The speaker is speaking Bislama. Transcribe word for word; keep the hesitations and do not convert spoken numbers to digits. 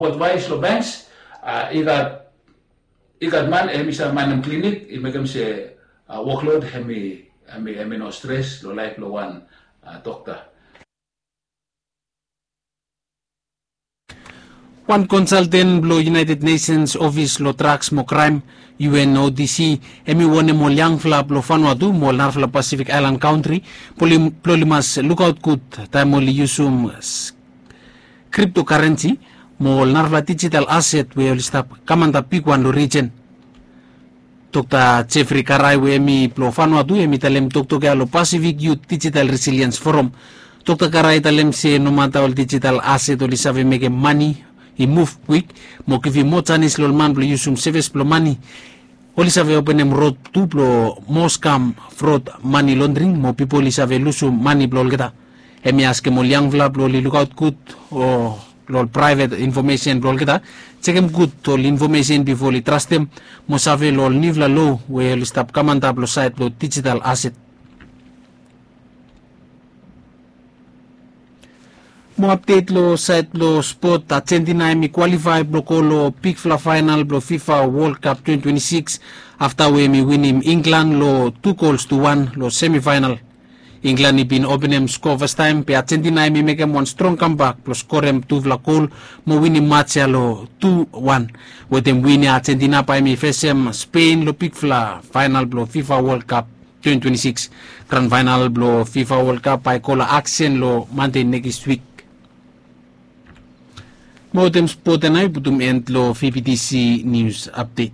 Advaes long banks, i gat i gat man hemi save manem klinik, i mekem se woklod hemi hemi hemi no stres long laef blong wan dokta. Wan konsalten blong United Nations Office long Draks mo Kraem, UNODC, hemi wonem ol yangfala blong Vanuatu mo ol narafala Pasifik aelan kantri blong oli mas lukaot gud taem oli yusum kriptokarensi mo ol narafala dijital aset we oli stap kam antap bigwan long rijen. Dokta Jeffrey Karai we hemi blong Vanuatu hemi talem toktok ya long Pasifik Yut Dijital Resiliens Foram. Dokta Karai i talem se nomata ol dijital aset oli save mekem mane i muv kwik mo givim moa janis long ol man blong yusum sevis blong mane, oli save openem rod tu blong moa skam, frod, mane londring mo pipol i save lusum mane blong olgeta. Hemi askem ol yangfala blong oli lukaot gud long ol praevet infomesen blong olgeta, jekem gud ol infomesen bifo oli trastem mo save long ol niufala lo we oli stap kam antap long saed blong dijital aset. Mo apdet long saed blong spot, Argentina hemi kwalifae blong go long bigfala faenal blong FIFA World Cup twenty twenty-six afta we hemi winim Inglan long tu gols tu wan long semifaenal. Inglan i bin openem skoa fastaem be Argentina hemi mekem wan strong kambak blong skorem tufala gol mo winim maj ya long tu wan. Wetem win ya Argentina bae hemi fesem Spen long bigfala faenal blong FIFA World Cup twenty twenty-six. Gran faenal blong FIFA World Cup bae i go long aksen long Mande nekis wik. Mo wetem spot ya nao i putum en long VBTC nius apdet.